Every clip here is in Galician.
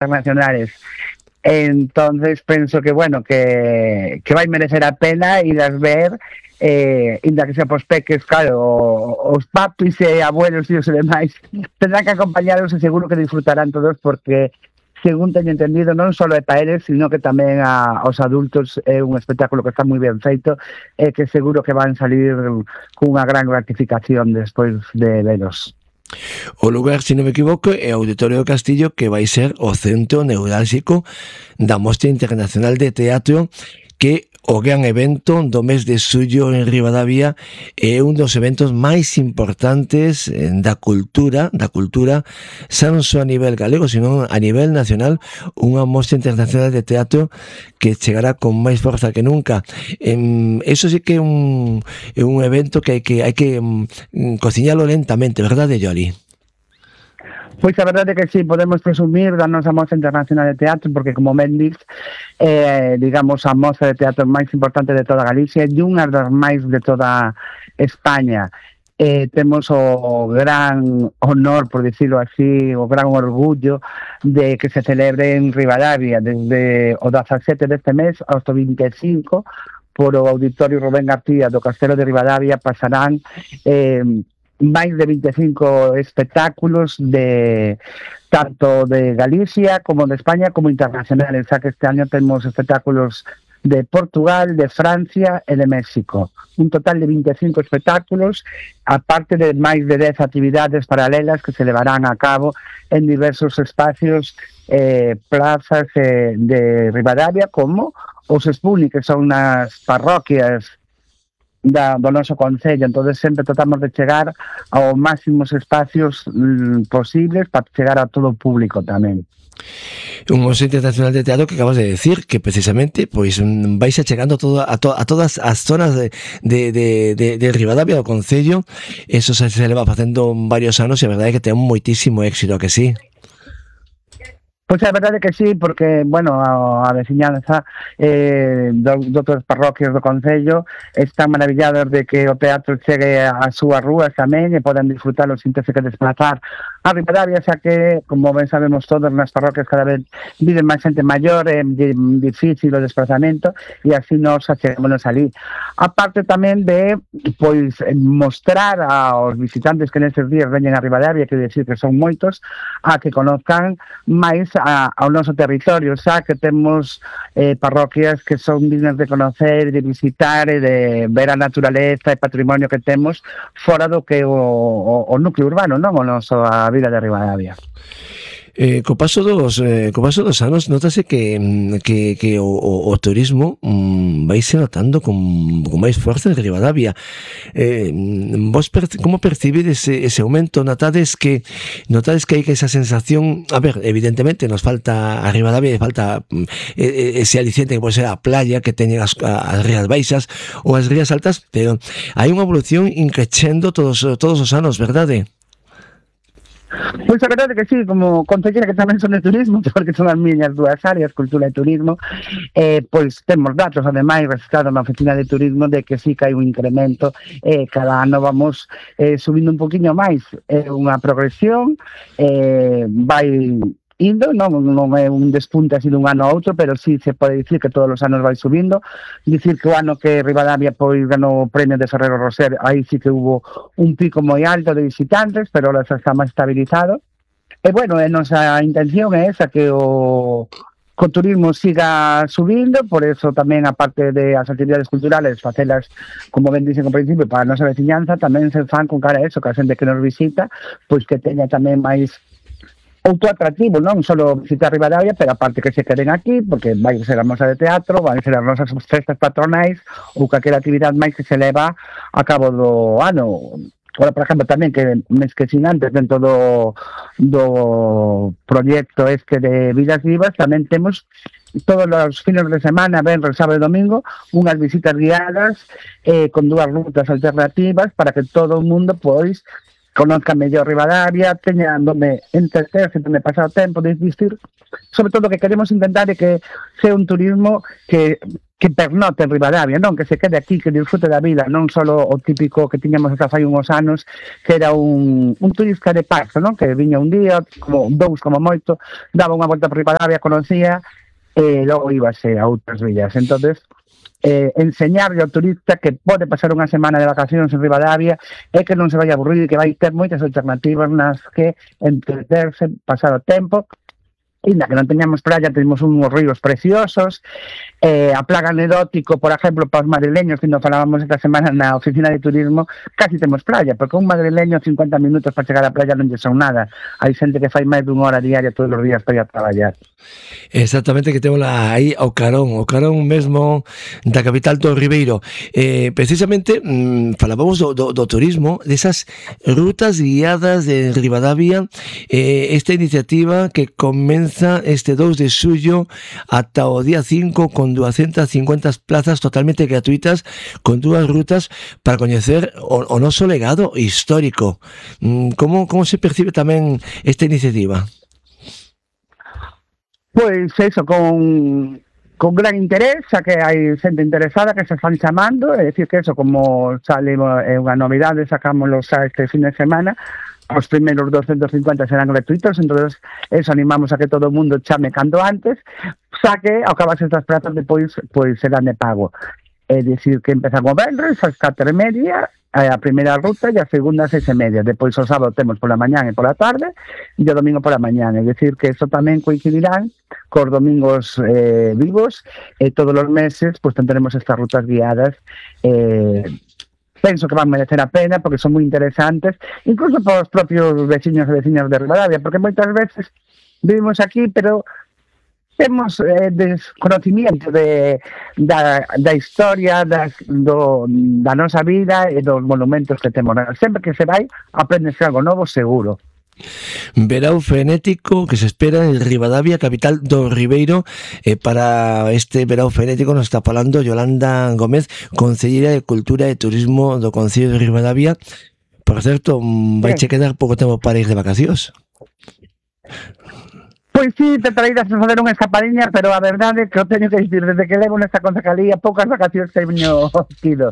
internacionales. Entonces penso que, bueno, que vai merecer a pena ir a ver, inda que sea pos peques, claro, os papis e abuelos e os demais tendrán que acompañaros e seguro que disfrutarán todos porque según teño entendido, non só é para eles, sino que tamén aos adultos é un espectáculo que está moi ben feito e que seguro que van salir cunha gran gratificación despois de veros. O lugar, se non me equivoco, é o Auditorio do Castillo, que vai ser o centro neurálxico da Mostra Internacional de Teatro, que o gran evento do mes de xullo en Ribadavia é un dos eventos máis importantes da cultura, xa non só a nivel galego, sino a nivel nacional, unha mostra internacional de teatro que chegará con máis forza que nunca. Eso sí que é un evento que hai que cociñalo lentamente, verdade, Yoli? Pois a verdade é que sí, podemos presumir da nosa Mostra Internacional de Teatro porque, como ben dix, digamos, a mostra de teatro máis importante de toda Galicia e unha das máis de toda España. Temos o gran honor, por dicirlo así, o gran orgullo de que se celebre en Ribadavia desde o 17 deste mes hasta o 25 por o Auditorio Rubén García do Castelo de Ribadavia pasarán máis de 25 espectáculos de tanto de Galicia como de España como internacionales, xa que este año temos espectáculos de Portugal, de Francia e de México. Un total de 25 espectáculos, aparte de máis de 10 actividades paralelas que se levarán a cabo en diversos espacios, plazas de Ribadavia, como os Espuni, que son nas parroquias do noso concello. Entonces sempre tratamos de chegar aos máximos espacios posibles para chegar a todo o público tamén. Un Mostra Internacional de Teatro que acabas de decir que precisamente pois vais achegando a todas as zonas de Ribadavia do concello. Eso se leva facendo varios anos e a verdade é que ten moitísimo éxito, a que sí? Pois a verdade que sí, porque, bueno, a veciñanza de outras parroquias do concello están maravillados de que o teatro chegue ás súas rúas tamén e poden disfrutalo sin terse que desplazar a Ribadavia, xa que, como ben sabemos todos, nas parroquias cada vez viven máis xente maior, é difícil o desplazamento e así nos achegámonos ali. A parte tamén de, pois, mostrar aos visitantes que neses días veñen a Ribadavia, que decir que son moitos, a que conozcan máis ao noso territorio, xa que temos parroquias que son dignas de conocer, de visitar e de ver a naturaleza e patrimonio que temos fora do que o núcleo urbano, non? O noso a vida de Ribadavia. Co paso dos anos notase que o turismo vaise notando con máis forza en Ribadavia. Vos como percibides ese aumento? Notades que hai esa sensación, a ver, evidentemente nos falta a Ribadavia, falta ese aliciente que pode ser a playa que teñen as rías baixas ou as rías altas, pero hai unha evolución increchendo todos os anos, verdade? Pois a verdade que sí, como concelleira que tamén son de turismo, porque son as miñas dúas áreas, cultura e turismo, pois temos datos, ademais, registrados na oficina de turismo de que sí que hai un incremento, cada ano vamos subindo un poquinho máis, unha progresión, vai indo, non é un despunte así dun ano a outro, pero sí se pode dicir que todos os anos vai subindo. Dicir que o ano que Ribadavia pois ganou o premio de Ferrero Roser, aí sí que hubo un pico moi alto de visitantes, pero ahora xa está máis estabilizado. E bueno, nosa intención é esa, que o turismo siga subindo, por eso tamén, aparte de as actividades culturales, facelas, como ben dixen ao principio, para a nosa veciñanza, tamén se fan con cara a eso, que a xente que nos visita, pois que teña tamén máis outro atractivo, non só visitar Ribadavia, pero aparte que se queden aquí, porque vai ser a mostra de teatro, vai ser as nosas festas patronais ou calquera actividade máis que se leva a cabo do ano. Ora, por exemplo, tamén que mes que sin antes, dentro do proxecto este de Vidas Vivas, tamén temos todos os fines de semana, venres, sábado e domingo, unhas visitas guiadas con dúas rutas alternativas para que todo o mundo, pois, conozca mellor Ribadavia, teña donde entreterse, donde pasar o tempo, de existir. Sobre todo, o que queremos intentar é que sea un turismo que que pernote en Ribadavia, non? Que se quede aquí, que disfrute da vida, non só o típico que tiñamos hasta fai uns anos, que era un turista de paso, non? Que viña un día, como dous como moito, daba unha volta por Ribadavia, conocía, e logo íbase a outras villas. Entonces, enseñarle ao turista que pode pasar unha semana de vacacións en Ribadavia e que non se vai a aburrir e que vai ter moitas alternativas nas que entreterse, pasar o tempo. Inda que non teñamos playa, temos uns ríos preciosos, a plaga anedótico, por exemplo, para os madrileños, que nos falábamos esta semana na oficina de turismo, casi temos playa, porque un madrileño 50 minutos para chegar á playa non lle son nada. Hai xente que fai máis dunha hora diaria todos os días para ir a traballar. Exactamente, que temos aí ao carón mesmo da capital do Ribeiro. Precisamente falábamos do turismo, desas rutas guiadas de Ribadavia, esta iniciativa que comeza este 2 de xullo ata o día 5 con 250 plazas totalmente gratuitas, con dúas rutas para coñecer o noso legado histórico. Como se percibe tamén esta iniciativa? Pois eso, con gran interés, xa que hai xente interesada que se están chamando, é dicir que eso, como sale unha novidade, sacámoslos xa este fin de semana, os primeiros 250 serán gratuitos, entonces eso, animamos a que todo o mundo chame cando antes, xa que ao acabarse estas plazas depois pois serán de pago. É dicir que empezan o venres ás 4:30, a primeira ruta e a segunda ás 6:30. Depois o sábado temos pola mañán e pola tarde e o domingo pola mañán. É dicir que eso tamén coincidirán cos domingos vivos e todos os meses pues tendremos estas rutas guiadas. Penso que van merecer a pena porque son moi interesantes, incluso para os propios veciños e veciñas de Ribadavia, porque moitas veces vivimos aquí, pero temos desconocimiento da historia da nosa vida e dos monumentos que temos. Sempre que se vai, aprendes algo novo seguro. Verao frenético que se espera en Ribadavia, capital do Ribeiro. Para este verao frenético nos está falando Yolanda Gómez, concelleira de Cultura e Turismo do Concello de Ribadavia. Por certo, vai che quedar pouco tempo para ir de vacacións. Pois sí, te traídas a fazer unha escapadiña, pero a verdade é que o teño que dicir, desde que levo nesta concejalía, poucas vacacións teño tido.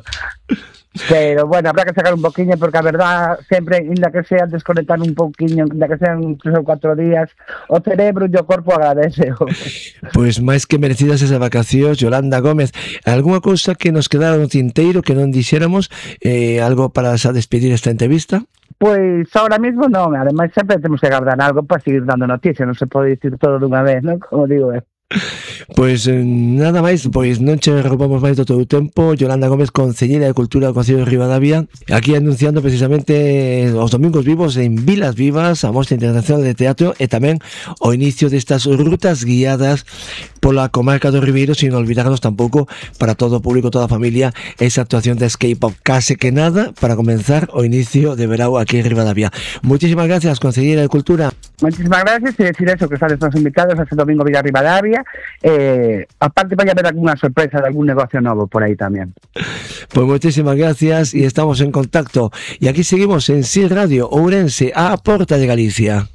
Pero, bueno, habrá que sacar un poquinho, porque a verdad, sempre, inda que sea desconectar un poquinho, inda que sean 3 ou 4 días, o cerebro e o corpo agradece. Pois máis que merecidas esas vacacións, Yolanda Gómez. Algúna cousa que nos quedara no tinteiro que non dixéramos, algo para xa despedir esta entrevista? Pois ahora mismo non, ademais sempre temos que guardar algo para seguir dando noticias, non se pode dicir todo dunha vez, non? Como digo, Pois nada máis, pois non che roubamos máis do teu tempo. Yolanda Gómez, concelleira de Cultura do Concello de Ribadavia, aquí anunciando precisamente os domingos vivos en Vilas Vivas, a Mostra Internacional de Teatro e tamén o inicio destas rutas guiadas pola comarca do Ribeiro, sin olvidarnos tampouco para todo o público, toda a familia, esa actuación de Escape Pop, case que nada para comenzar o inicio de verao aquí en Ribadavia. Muchísimas gracias, concelleira de Cultura. Muchísimas gracias, e decir eso, que están todos invitados a este domingo Villa Ribadavia. Aparte vai haber alguna sorpresa de algún negocio novo por aí tamén. Pues muchísimas gracias y estamos en contacto. Y aquí seguimos en CIL Radio Ourense, a porta de Galicia.